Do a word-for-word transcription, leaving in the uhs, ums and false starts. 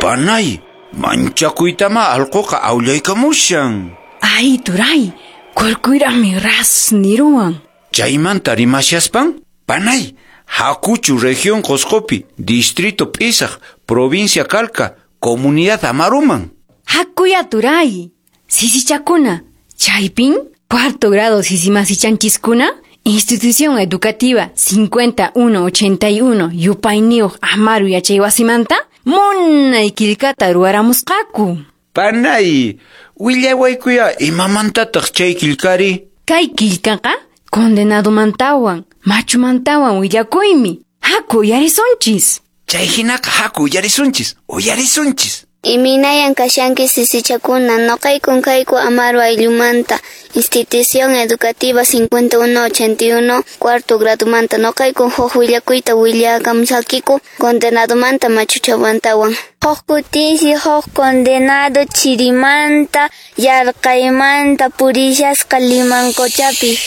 Panay, manchakuytama allquqa awllaykamushan. Ay, turay, kurkuyraqmi ras niruwan. Chaymanta rimashaspan, panay, hakuchu región Qosqopi, distrito P'isaq, provincia Calca, comunidad Amaruman. Hakuya turay, sisichakuna, chaypin, cuarto grado sisimasichanchiskuna, institución educativa cincuenta uno ochenta y uno yupayniyuq Amaru yachaywasimanta, munay qillqata ruwaramusqaku. Panay, willawaykuya imamantataq chay qillqari? Kay qillqaqa condenadomantawan, machumantawan willakuymi. Haku uyarisunchis. Chay hinaqa haku uyarisunchis, uyarisunchis. Imaynayan kashanki sisichakuna, noqaykun kayku Amaru ayllumanta, institución educativa cincuenta uno ochenta y uno, cuarto gradomanta, noqaykun huk willakuyta willakamusakiku condenadomanta machuchamantawan. Huk kutinsi huk condenado chirimanta, yarqaymanta purishasqa Limancochapi.